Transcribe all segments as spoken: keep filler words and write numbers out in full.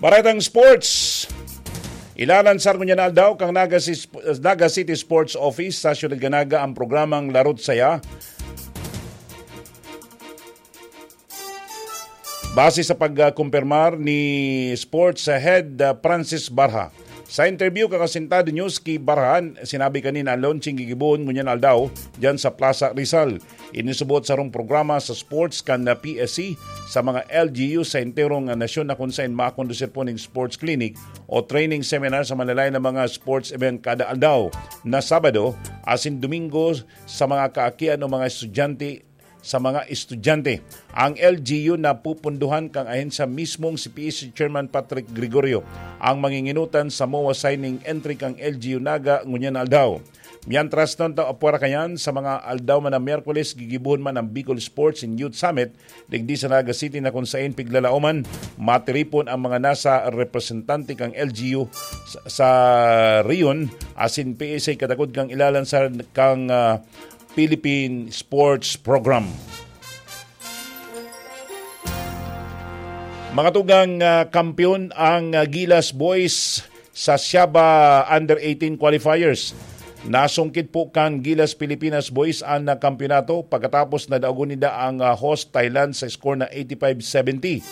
Paretang sports. Ilalansar ngunyan na aldaw kan Naga, Sis- Naga City Sports Office sa Siyudad kan Naga ang programang Larot Saya. Base sa pagkumpirmar ni Sports Head, uh, Francis Barha. Sa interview kan Asintado News ki Barha, sinabi kani na launching gigibohon ngunyan aldaw diyan sa Plaza Rizal. Inisubot sarong programa sa sports kan P S C sa mga L G U sa enterong nasyon na kung saan makondusir po ning sports clinic o training seminar sa manlalay na mga sports event kada aldaw na Sabado asin Domingo sa mga kaakian o mga estudyante sa mga estudyante. Ang L G U na pupunduhan kang ahensya mismong si P S C Chairman Patrick Gregorio ang manginginutan sa MOA signing entry kang L G U Naga ngunyan aldaw. Mientras tanto, apwera kayan, sa mga aldaw man na Miyerkules, gigibuhon man ang Bicol Sports and Youth Summit digdi sa Naga City na kung sain piglalaoman, matiripon ang mga nasa representante kang L G U sa, sa Rion asin P S A katakod kang ilalansar kang, ah, Philippine Sports Program. Mga tugang, ah, kampiyon ang, ah, Gilas Boys sa Siaba Under eighteen Qualifiers. Nasungkit po kan Gilas Pilipinas Boys ang, ah, kampiyonato pagkatapos na daogon ninda ang, ah, host Thailand sa score na eighty-five seventy.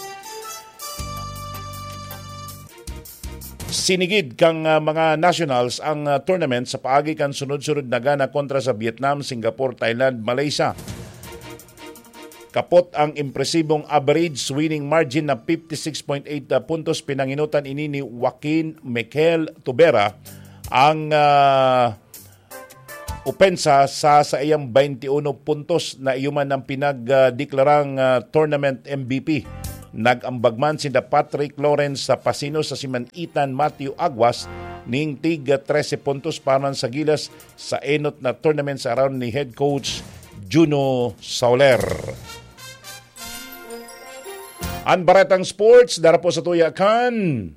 Sinigid kang, ah, mga nationals ang, ah, tournament sa paagi kan sunod-sunod na gana kontra sa Vietnam, Singapore, Thailand, Malaysia. Kapot ang impresibong average winning margin na fifty-six point eight puntos, pinanginutan ini ni Joaquin Mikel Tubera ang, ah, opensa sa saiyang twenty-one puntos na iyo man ang pinagdeklarang, ah, tournament M V P. Nag-ambag man sinda Patrick Lawrence sa Pasino sa siman Ethan Matthew Aguas ning tig trese puntos para man sa Gilas sa enot na tournament sa around ni head coach Juno Soler. An Baretang Sports, dara po sa tuya kan